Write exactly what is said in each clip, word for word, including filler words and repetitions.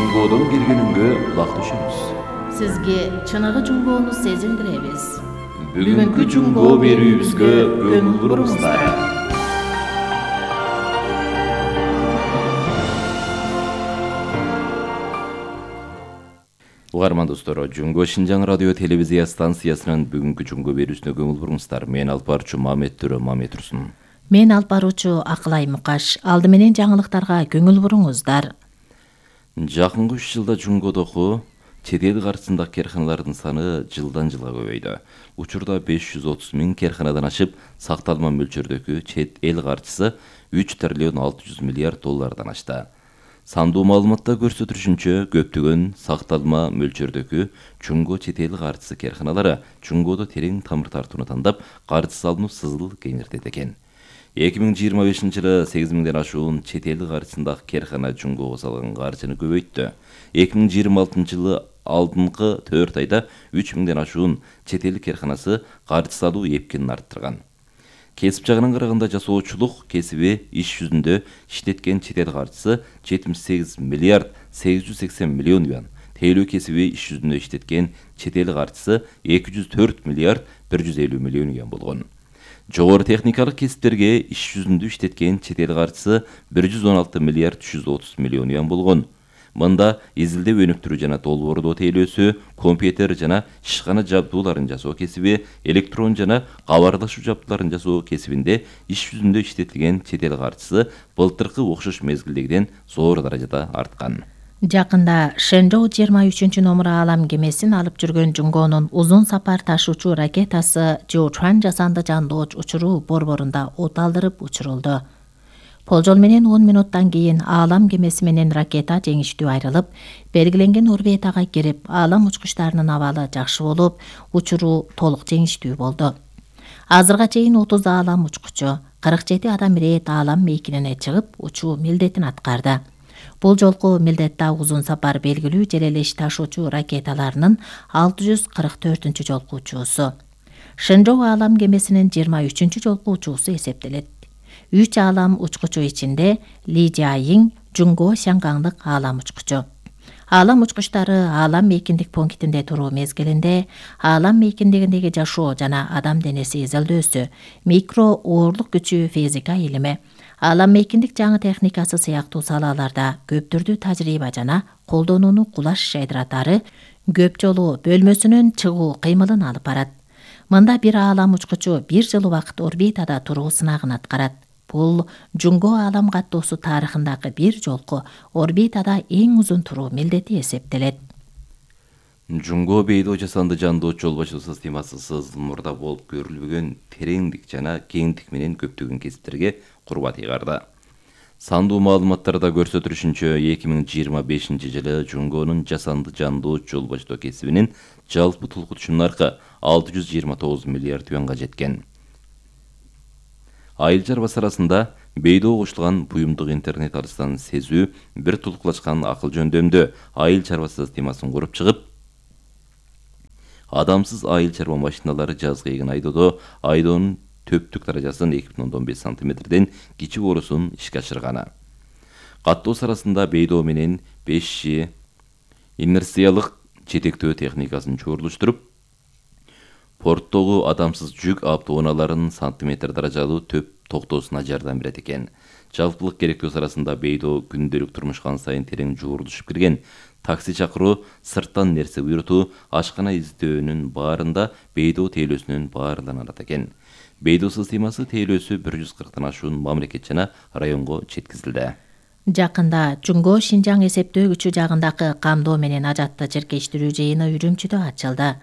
Жунгодон келгениңге кулак түшөбүз. Сизге чыныгы жунгоону сезилдиребиз. Бүгүнкү жунгоо берүүбүзгө көңүл буруңуздар. Угарман достор, Жунгоо Шинжаң радио телевизия станциясынын бүгүнкү жунгоо берүүсүнө көңүл буруңуздар. Мен алып баруучу Мамет Төрө Мамет Турсун. Мен алып баруучу Акылай Мукаш. Алды менен жаңылыктарга көңүл буруңуздар. Жакынкы үч жылда жунгодогу чет эл каржысындагы керканалардын саны жылдан жылга көбөйдү. Учурда беш жүз отуз миң керканадан ашып, сакталма мөлчөрдөгү чет эл каржысы үч триллион алты жүз миллиард доллардан ашты. Сандуу маалыматта көрсөтүлүшүнчө, көптөгөн сакталма мөлчөрдөгү жунгоо чет эл каржысы керканалары жунгоодо терең тамыр тартууну тандап, каржы салынуу сызыл кеңиртет экен. эки миң жыйырма бешинчи жылы сегиз миңден ашуун чет эл каржысындагы керкана жунгоого салган каржыны көбөйттү. эки миң жыйырма алтынчы жылы алдыңкы төрт айда үч миңден ашуун чет эл керканасы каржы салуу эпкинин арттырган. Кесип жагынан караганда жасоочулук кесиби иш жүзүндө иштеткен чет эл каржысы жетимиш сегиз миллиард сегиз жүз сексен миллион юан, тейлөө кесиби иш жүзүндө иштеткен чет эл каржысы эки жүз төрт миллиард бир жүз элүү миллион юан болгон. Жогору техникалык кесиптерге иш жүзүндө иштеткен чет эл каржысы бир жүз он алты миллиард үч жүз отуз миллион юан болгон. Мында изилдөө өнүктүрүү жана долбоордоо тейлөөсү, компьютер жана ишкана жабдууларын жасоо кесиби, электрон жана кабарлашуу жабдууларын жасоо кесибинде иш жүзүндө иштетилген чет эл каржысы былтыркы окшош мезгилдегиден зор даражада арткан. Жакында Шэнжоу жыйырма үчүнчү номер аалам кемесин алып жүргөн жунгоонун узун сапар ташуучу ракетасы Жоучан жасанды жандооч учуруу борборунда от алдырып учурулду. Болжол менен он минуттан кийин аалам кемеси менен ракета жеңиштүү айрылып, белгиленген орбитага кирип, аалам учкучтарынын абалы жакшы болуп, учуруу толук жеңиштүү болду. Азырга чейин отуз аалам учкучу, кырк жети адам ирет аалам мейкинине чыгып, учуу милдетин аткарды. Бул жолку милдетте узун сапар белгилүү жер элеш ташуучу ракеталарынын алты жүз кырк төртүнчү жолку учуусу. Шэнжоу аалам кемесинин жыйырма үчүнчү жолку учуусу эсептелет. Үч аалам учкучу ичинде Ли Жаиң жунгоо Шангаңдык аалам учкучу. Аалам учкучтары аалам мейкиндик пунктинде туруу мезгилинде аалам мейкиндигиндеги жашоо жана адам денеси изилдөөсү, микро оорлук күчү физика илими, аалам мейкиндик жаңы техникасы сыяктуу салаларда көп түрдүү тажрыйба жана колдонууну кулаш жайдыратары көп жолу бөлмөсүнөн чыгуу кыймылын алып барат. Мында бир аалам учкучу бир жыл убакыт орбитада туруу сынагын аткарат. Бул жунгоо аалам каттоосу тарыхындагы бир жолку орбитада эң узун туруу милдети эсептелет. Жунгоо бейдо жасанды жандооч жол башуу системасы сызыл мурда болуп көрүлбөгөн тереңдик жана кеңдик менен көптөгөн кесиптерге курбат ыйгарды. Сандуу маалыматтарда көрсөтүлүшүнчө, эки миң жыйырма бешинчи жылы жунгоонун жасанды жандооч жол башоо кесибинин жалпы тулкутушу наркы алты жүз жыйырма тогуз миллиард юанга жеткен. Айыл чарбасы арасында бейдо кошулган буюмдук интернет алыстан сезүү бир тулкулашкан акыл жөндөмдө айыл чарбасы системасын куруп чыгып, адамсыз айыл чарба машиналары жазгы эгин айдоодо айдоонун төптүк даражасын эки бүтүн ондон беш сантиметрден кичи боорусун ишке ашырганы. Каттоосу арасында бейдо менен беш жи инерциялык жетектөө техникасын чогулуштуруп, порттогу адамсыз жүк автоунааларынын сантиметр даражалуу төп токтоосуна жардам берет экен. Жалпылык керектөөсү арасында бейдо күндөлүк турмушка сайын терең жуурулушуп кирген. Такси чакыруу, сырттан нерсе буйрутуу, ашкана издөөнүн баарында бейдо тейлөөсүнүн баарланат экен. Бейдо системасы тейлөөсү бир жүз кырктан ашуун мамлекет жана районго жеткизилди. Жакында Жунгоо Шинжаң эсептөө күчү жагындагы камдоо менен ажатты жиркештирүү жыйыны Үрүмчүдө ачылды.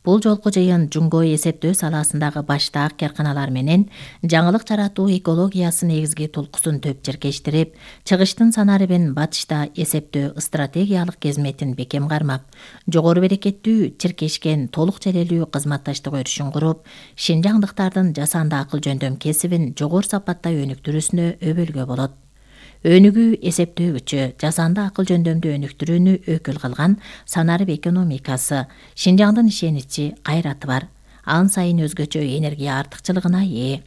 Бул жолку жыйын жунгоо эсептөө саласындагы баштаак керканалар менен жаңылык жаратуу экологиясы негизги тулкусун төп жиркештирип, чыгыштын санарыбын батышта эсептөө стратегиялык кезметин бекем кармап, жогору берекеттүү чиркешкен толук желелүү кызматташтык өрүшүн куруп, шинжаңдыктардын жасанды акыл жөндөм кесибин жогору сапатта өнүктүрүүсүнө өбөлгө болот. Өнүгүү эсептөөгүчү жасанды акыл жөндөмдү өнүктүрүүнү өкүл кылган санарып экономикасы Шинжаңдын ишеничи, кайраты бар. Ан сайын өзгөчө энергия артыкчылыгына ээ.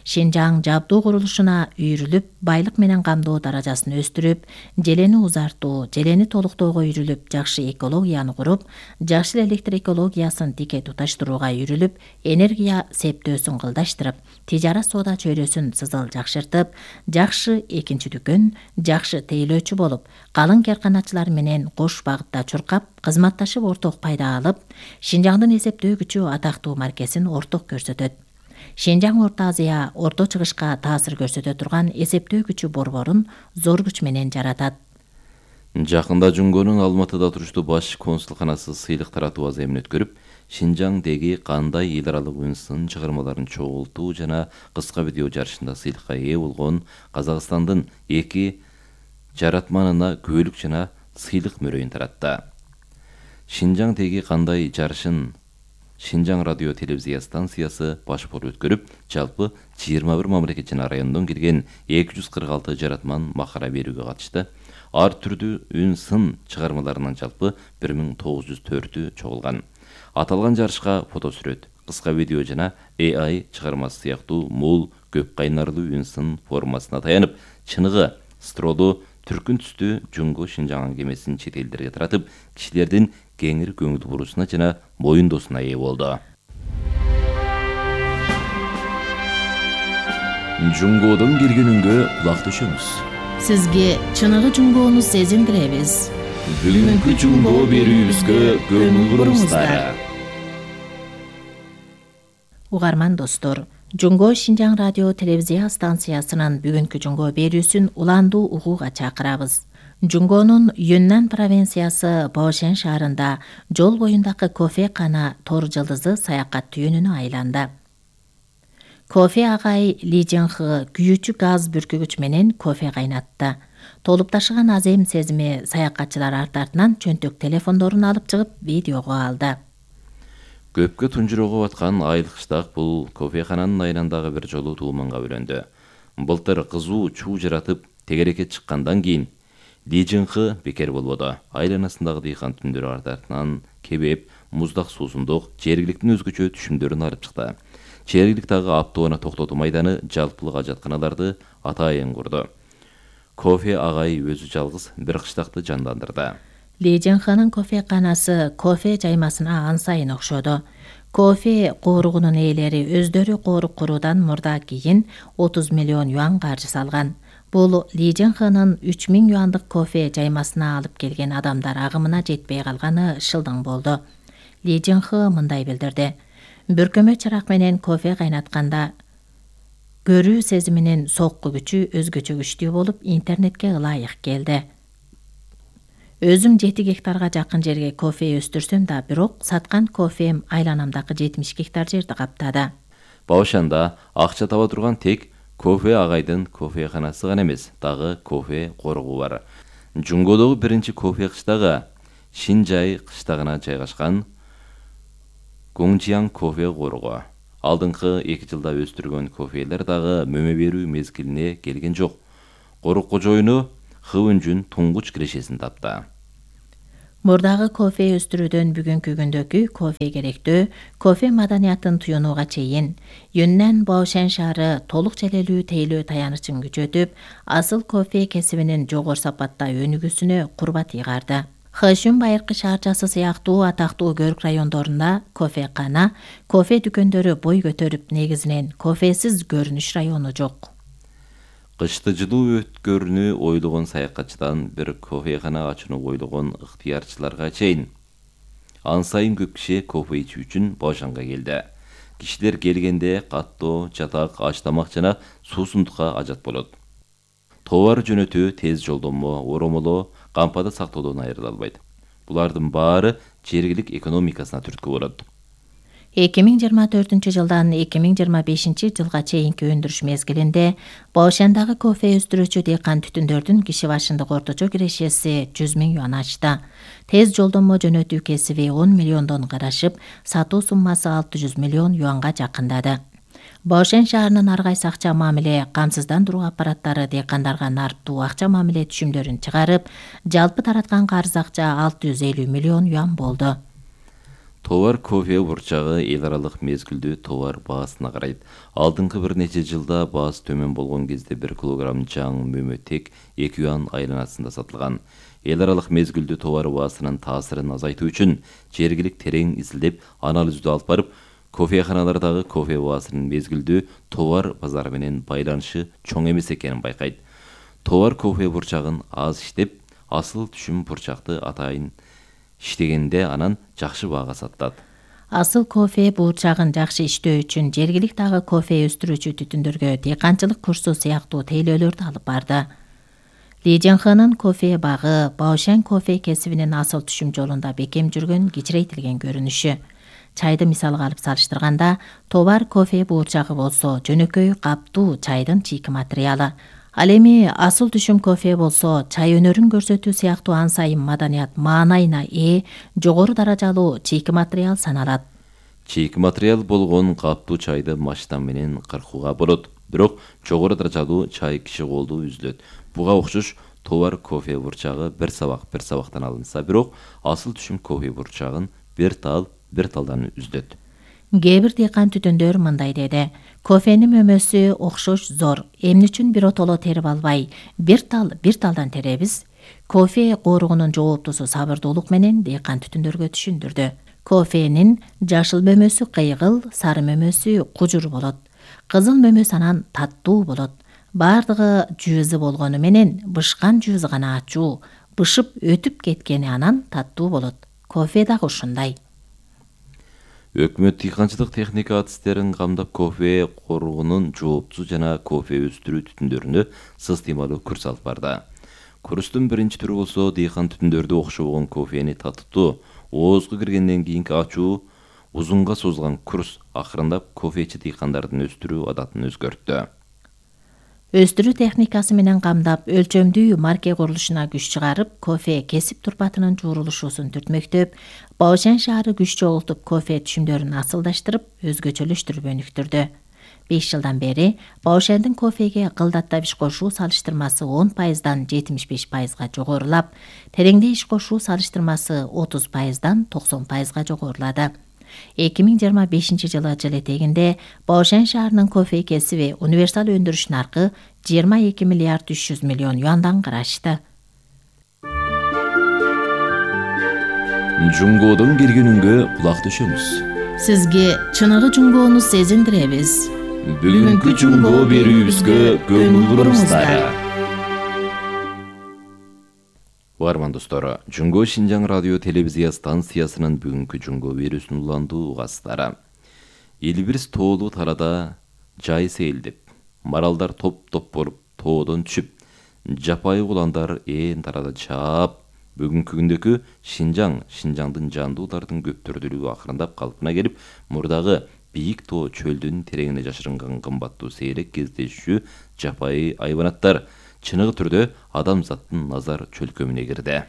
Шинжаң жабдуу курулушуна үйрүлүп, байлык менен камдоо даражасын өстүрүп, желени узартуу, желени толуктоого үйрүлүп, жакшы экологияны куруп, жашыл электр экологиясын тике туташтырууга үйрүлүп, энергия септөөсүн кылдаштырып, тижара соода чөйрөсүн сызыл жакшыртып, жакшы экинчи дүкөн, жакшы тейлөөчү болуп, калың карканачылар менен кош багытта чуркап, кызматташып орток пайда алып, Шинжаңдын эсептөө күчү атактуу маркесин орток көрсөтөт. Шинжаң Орто Азия Орто Чыгышка таасир көрсөтө турган эсептөө күчү борборун зор күч менен жаратат. Жакында Жунгонун Алматыда туруштуу баш консулканасы сыйлык таратуу аземин өткөрүп, Шинжаңдеги кандай эл аралык үнсын чыгармаларын чогултуу жана кыска видео жарышында сыйлыкка ээ болгон Казакстандын эки жаратманына күбөлүк жана сыйлык мөрөйүн таратты. Шинжаңдеги кандай жарышын Шинжаң радио телевизия станциясы баш болуп өткөрүп, жалпы жыйырма бир мамлекет жана райондон келген эки жүз кырк алты жаратман макара берүүгө катышты. Ар түрдүү үн сын чыгармаларынан жалпы бир миң тогуз жүз төртү чогулган. Аталган жарышка фотосүрөт, кыска видео жана эй ай чыгармасы сыяктуу мул, көп кайнарлуу үн сын формасына таянып, чыныгы стролдуу түркүн түстүү Жунго Шинжаң аңгемесин чет элдерге таратып, кишилердин кеңир көңүл буруусуна жана моюндоосуна ээ болду. Жунгодон келгенүнгө кулак түшөмүз. Сизге чыныгы Жунгоону сезиндиребиз. Бүгүнкү Жунго берүүбүзгө көңүл буруңуздар. Угарман достор, Жунго Шинжаң радио телевизия станциясынын бүгүнкү Жунго берүүсүн уландуу угууга чакырабыз. Жунгонун Юннан провинциясы Баошен шаарында жол боюндагы кофе кана Тор жылдызы саякат түйүнүнө айланды. Кофе агай Ли Жинхы күйүүчү газ бүркүгүч менен кофе кайнатты. Толуп ташыган азем сезими саякатчылар арт артынан чөнтөк телефондорун алып чыгып видеого алды. Көпкө тунжурого баткан айлык кыштак бул кофехананын айландагы бир жолу тууманга бөлөндү. Былтыр кызуу чуу жаратып тегерекке чыккандан кийин Ли Жинхы бекер болбоду. Айланасындагы дыйкан түндөрү арт артынан кебеп, муздак суусундук, жергиликтин өзгөчө түшүмдөрүн алып чыкты. Жергиликтагы автоунаа токтотуу майданы, жалпылык ажатканаларды атайын курду. Кофе агай өзү жалгыз бир кыштакты жандандырды. Ли Жинхынын кофе канасы кофе жаймасына ан сайын окшоду. Кофе кооругунун ээлери өздөрү коорук куруудан мурда кийин отуз миллион юан каржы салган. Бул Ли Жинхынын үч миң юандык кофе жаймасына алып келген адамдар агымына жетпей калганы шылдың болду. Ли Жинхы мындай билдирди. Бүркөмө чырак менен кофе кайнатканда көрүү сезиминин сокку күчү өзгөчө күчтүү болуп, интернетке ылайык келди. Өзүм жети гектарга жакын жерге кофе өстүрсөм да, бирок саткан кофем айланамдагы жетимиш гектар жерди каптады. Баошанда акча таба турган тек кофе агайдын кофеханасы гана эмес, дагы кофе коргу бар. Жунгодогу биринчи кофе кыштагы Шинжай кыштагына жайгашкан Гоңжияң кофе коргу. Алдыңкы эки жылда өстүргөн кофелер дагы мөмө берүү мезгилине келген жок. Корук кожоюну Хыбынжүн туңгуч кирешесин тапты. Мурдагы кофе өстүрүүдөн бүгүнкү күндөгү кофе керектөө, кофе маданиятын туюнууга чейин Юннан Баошен шаары толук желелүү тейлөө таянычын күчөтүп, асыл кофе кесибинин жогору сапатта өнүгүүсүнө курбат ыйгарды. Хэшүн байыркы шаарчасы сыяктуу атактуу көрк райондорунда кофе кана, кофе дүкөндөрү бой көтөрүп, негизинен кофесиз көрүнүш району жок. Кышты жылуу өткөрүүнү ойлогон саякатчыдан бир кофехана ачууну ойлогон ыктыярчыларга чейин ан сайын көп киши кофе ичүү үчүн Баошанга келди. Кишилер келгенде каттоо, жатак, аш тамак жана суусундукка ажат болот. Товар жөнөтүү тез жолдомо, оромолоо, кампада сактоодон айрыла албайт. Булардын баары жергилик экономикасына түрткү болот. эки миң жыйырма төртүнчү жылдан эки миң жыйырма бешинчи жылга чейинки өндүрүш мезгилинде Баошандагы кофе өстүрүүчү дыйкан түтүндөрдүн киши башындагы орточо кирешеси жүз миң юан ачты. Тез жолдомо жөнөтүү кесиби он миллиондон карашып, сатуу суммасы алты жүз миллион юанга жакындады. Баошен шаарынын ар кайсы акча мамиле, камсыздандыруу аппараттары дыйкандарга нарттуу акча мамиле түшүмдөрүн чыгарып, жалпы тараткан карыз акча алты жүз элүү миллион юан болду. Товар кофе бурчагы эл аралык мезгилдүү товар баасына карайт. Алдыңкы бир нече жылда баасы төмөн болгон кезде бир килограмм жаңы мөмө тек эки юан айланасында сатылган. Эл аралык мезгилдүү товар баасынын таасирин азайтуу үчүн жергилик терең изилдеп, анализдөө алып барып, кофеханалардагы кофе баасынын мезгилдүү товар базары менен байланышы чоң эмес экенин байкайт. Товар кофе бурчагын аз иштеп, асыл түшүм бурчакты атайын иштегенде анан жакшы баага сатат. Асыл кофе бурчагын жакшы иштөө үчүн жергиликтагы кофе өстүрүүчү түтүндөргө дыйканчылык курсу сыяктуу тейлөөлөрдү алып барды. Ли Жэнхэнын кофе багы Баошан кофе кесибинин асыл түшүм жолунда бекем жүргөн кичирейтилген көрүнүшү. Чайды мисалга алып салыштырганда, товар кофе бурчагы болсо жөнөкөй каптуу чайдын чийки материалы. Ал эми асыл түшүм кофе болсо чай өнөрүн көрсөтүү сыяктуу ан сайын маданият маанайына ээ жогору даражалуу чийки материал саналат. Чийки материал болгон каптуу чайды машина менен кыркууга болот, бирок жогору даражалуу чай киши колдуу үзүлөт. Буга окшош товар кофе бурчагы бир сабак бир сабактан алынса, бирок асыл түшүм кофе бурчагын бир тал бир талдан үзүлөт. Кээ бир дыйкан түтүндөр мындай деди: кофенин мөмөсү окшош зор, эмне үчүн бир отоло терип албай, бир тал бир талдан теребиз? Кофе кооругунун жооптусу сабырдуулук менен дыйкан түтүндөргө түшүндүрдү. Кофенин жашыл мөмөсү кыйгыл, сары мөмөсү кужур болот. Кызыл мөмөс анан таттуу болот. Бардыгы жүүзү болгону менен бышкан жүүзү гана ачуу, бышып өтүп кеткени анан таттуу болот. Кофе дагы ушундай. Өкмөт дыйканчылык техника адистерин камдап кофе кооругунун жооптусу жана кофе өстүрүү түтүндөрүнө сыстыймалуу курс алып барды. Курстун биринчи түрү болсо дыйкан түтүндөрдү окшобогон кофени татыттуу, оозго киргенден кийинки ачуу узунга созулган курс акырындап кофечи дыйкандардын өстүрүү адатын өзгөрттү. Өстүрүү техникасы менен камдап, өлчөмдүү марке курулушуна күч чыгарып, кофе кесип турпатынын жуурулушуусун түртмөктөп, Баошан шаары күч чогултуп, кофе түшүмдөрүн асылдаштырып, өзгөчөлөштүрүп өнүктүрдү. беш жылдан бери Баошандын кофеге кылдатта иш кошуу салыштырмасы он пайыздан жетимиш беш пайызга жогорулап, тереңде иш кошуу салыштырмасы отуз пайыздан токсон пайызга жогорулады. эки миң жыйырма бешинчи жылы жыл этегинде Баошан шаарынын кофе кесиби универсал өндүрүш наркы жыйырма эки миллиард үч жүз миллион юандан карашты. Жунгодон келгенүнгө кулак төшөмүз. Сизге чыныгы жунгоону сезиндиребиз. Бүгүнкү жунгоо берүүбүзгө көңүл буруңуздар. Угарман достор, Жунгоо Шинжаң радио телевизия станциясынын бүгүнкү жунгоо берүүсүн уландуу угасыздар. Элбирис тоолуу тарада жай сейилдеп, маралдар топ-топ болуп тоодон түшүп, жапайы уландар ээн тарада чаап, бүгүнкү күндөгү Шинжаң, Шинжаңдын жандуулардын көптөрдүүлүгү акырындап калпына келип, мурдагы бийик тоо чөлдүн тереңине жашырынган кымбаттуу сейрек кездешүү жапайы айванаттар чыныгы түрдө адамзаттын назар чөлкөмүнө кирди.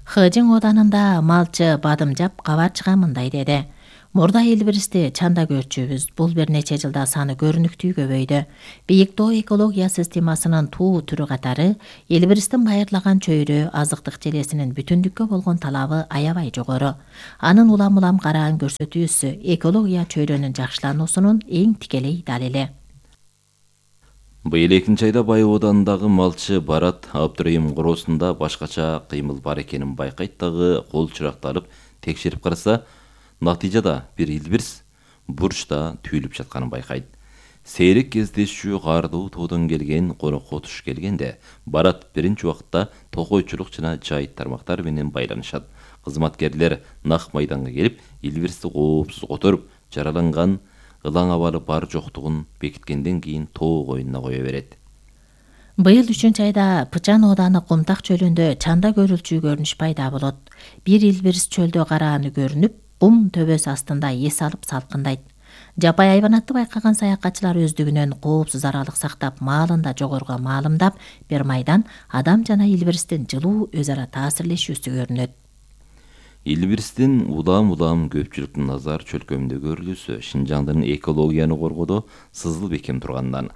Хыжың оданында малчы Бадымжап кабарчыга мындай деди: Мурда Элбиристи чанда көрчүбүз, бул бир нече жылда саны көрүнүктүү көбөйдү. Бийик тоо экология системасынын туу түрү катары Элбиристин байырлаган чөйрө азыктык желесинин бүтүндүккө болгон талабы аябай жогору. Анын улам-улам караан көрсөтүүсү экология чөйрөнүн жакшылануусунун эң тикелей далили. Быйыл экинчи айда Бай оданындагы малчы Барат Абдырайым короосунда башкача кыймыл бар экенин байкайт дагы кол чыракты алып текшерип караса, натыйжада бир Элбирис бурчта түйүлүп жатканын байкайт. Сейрек кездешүү каардуу тоодон келген конокко туш келгенде, Барат биринчи убакытта токойчулук жана жайыт тармактар менен байланышат. Кызматкерлер нак майданга келип, Элбиристи коопсуз которуп, жараланган ылаң абалы бар жоктугун бекиткенден кийин тоо коюнуна кое берет. Быйыл үчүнчү айда Пычан ооданы Кумтак чөлүндө чанда көрүлчү көрүнүш пайда болот. Бир Элбирис чөлдө карааны көрүнүп, кум төбөсү астында эс алып салкындайт. Жапай айванатты байкаган саякатчылар өздүгүнөн коопсуз аралык сактап, маалында жогоруга маалымдап, бир майдан адам жана Элбиристин жылуу өз ара таасирлешүүсү көрүнөт. Илбирстин улам-улам көпчүлүктүн назар чөлкөмүндө көрүлүүсү Шинжаңдын экологияны коргоодо сызыл бекем тургандан.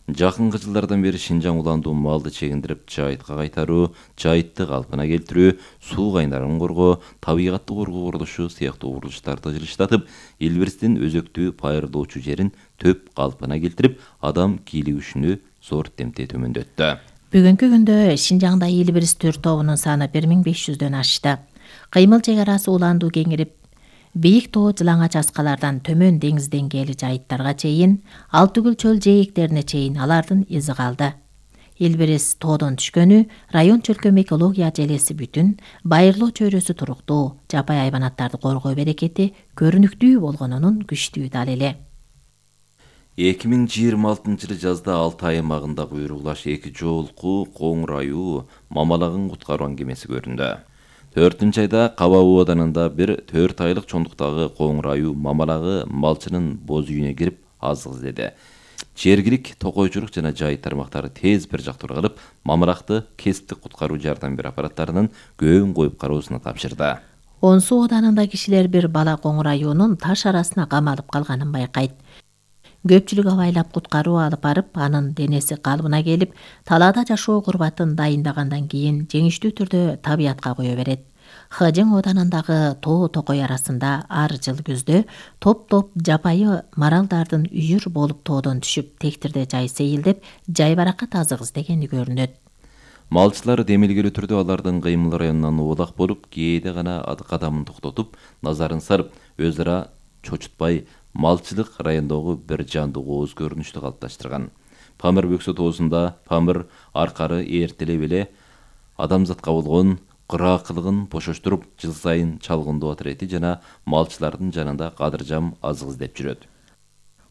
Жакынкы жылдардан бери Шинжаң уландуу малды чегиндирип жайытка кайтаруу, жайытты калпына келтирүү, суу кайнарын коргоо, табигатты коргоо курулушу сыяктуу курулуштарды жылыштатып, Илбирстин өзөктүү пайырлоочу жерин төп калпына келтирип, адам кийлигишүүнү зор темте төмөндөттү. Бүгүнкү күндө Шинжаңда Илбирс төр тобунун саны бир миң беш жүздөн ашты. Кыймыл чек арасы уландуу кеңирип, бийик тоо жылаңач аскалардан төмөн деңиз деңгээли жайыттарга чейин, ал түгүл чөл жээктерине чейин алардын изи калды. Илбирс тоодон түшкөнү район чөлкөм экология желеси бүтүн, байырлоо чөйрөсү туруктуу, жапай айванаттарды коргоо берекети көрүнүктүү болгонунун күчтүү далили. эки миң жыйырма алтынчы жылы жазда Алтай аймагындагы Уйруклаш эки жолку Коңур аюу мамалагын куткаруу аңгемеси көрүндү. төртүнчү айда Каба абаданында бир төрт айлык чоңдуктагы Коңур аюу мамалагы малчынын боз үйүнө кирип азык издеди. Жергилик токойчулук жана жайыт тармактары тез бир жак тургалып, мамалакты кесиптик куткаруу жардам берүү аппараттарынын көөн коюп кароосуна тапшырды. Онсу оданында кишилер бир бала Коңур аюунун таш арасына камалып калганын байкайт. Көпчүлүк абайлап куткаруу алып барып, анын денеси калыбына келип, талаада жашоо курбатын дайындагандан кийин жеңиштүү түрдө табиятка кое берет. Хыжың оданындагы тоо токой арасында ар жыл күздө топ-топ жапайы маралдардын үйүр болуп тоодон түшүп, тектирде жай сейилдеп, жайбаракат азык издегени көрүнөт. Малчылар демилгелүү түрдө алардын кыймыл районунан оолак болуп, кээде гана кадамын токтотуп, назарын сарып, өз ара чочутпай, малчылык райондогу бир жандуу кооз көрүнүштү калыпташтырган. Памир бөксө тоосунда Памир аркары эртелеп эле адамзатка болгон кыраакылыгын бошоштуруп, жыл сайын чалгындоо отирети жана малчылардын жанында кадыржам азык издеп жүрөт.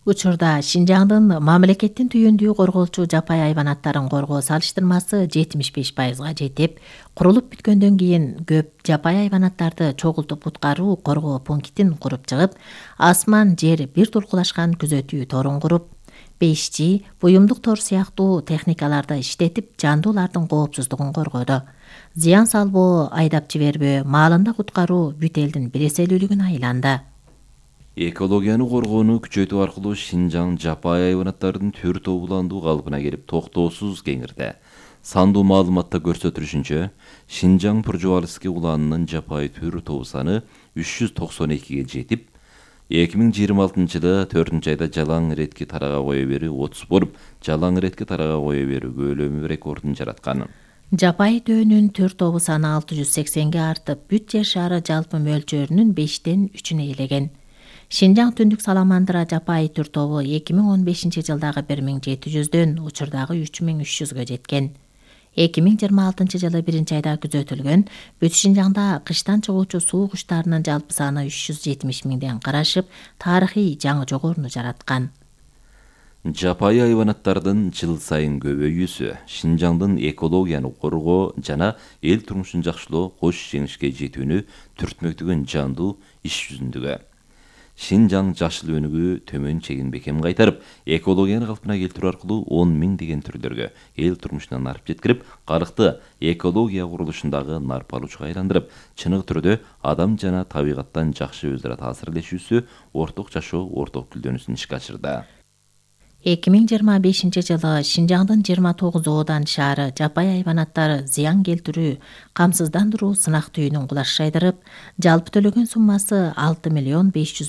Учурда Шинжаңдын мамлекеттин түйүндүү корголчу жапай айванаттарын коргоо салыштырмасы жетимиш беш пайызга жетип, курулуп бүткөндөн кийин көп жапай айванаттарды чогултуп куткаруу коргоо пунктин куруп чыгып, асман жер бир туркулашкан күзөтүү торун куруп, беш жи, буюмдук тор сыяктуу техникаларды иштетип, жандуулардын коопсуздугун коргоду. Зыян салбоо, айдап жибербөө, маалында куткаруу бүт элдин биреселүүлүгүнө айланды. Экологияны коргоону күчөтүү аркылуу Шинжаң жапай айванаттардын төр тобу уландуу калыбына келип токтоосуз кеңирди. Сандуу маалыматта көрсөтүлүшүнчө, Шинжаң Пуржубалский уланынын жапай төр тобу саны үч жүз токсон экиге жетип, эки миң жыйырма алтынчы жылы төртүнчү айда жалаң иретки тарага кое берүү отуз болуп, жалаң иретки тарага кое берүү көлөмү рекордун жараткан. Жапай төөнүн төр тобу саны алты жүз сексенге артып, бүт жер шары жалпы мөлчөрүнүн бештен үчүнө ээлеген. Шинжаң түндүк саламандыра жапай төр тобу эки миң он бешинчи жылдагы бир миң жети жүздөн учурдагы үч миң үч жүзгө жеткен. эки миң жыйырма алтынчы жылы биринчи айда күзөтүлгөн бүт Шинжаңда кыштан чыгуучу суу куштарынын жалпы саны үч жүз жетимиш миңден карашып, тарыхый жаңы жогоруну жараткан. Жапай айванаттардын жыл сайын көбөйүүсү Шинжаңдын экологияны коргоо жана эл турмушун жакшылоо кош жеңишке жетүүнү түртмөктөгөн жандуу иш жүзүндөгү. Шинжаң жашыл өнүгүү төмөн чегин бекем кайтарып, экологияны калпына келтирүү аркылуу он миң деген түрлөргө эл турмушуна нарп жеткирип, калкты экология курулушундагы нарп алуучуга айландырып, чыныгы түрдө адам жана табигаттан жакшы өз ара таасирлешүүсү, орток жашоо, орток гүлдөнүүсүн ишке ашырды. эки миң жыйырма бешинчи жылы Шинжаңдын жыйырма тогуз оодан шаары жапай айванаттары зыян келтирүү, камсыздандыруу сынак түйүнүн кулаш жайдырып, жалпы төлөгөн суммасы алты миллион беш жүз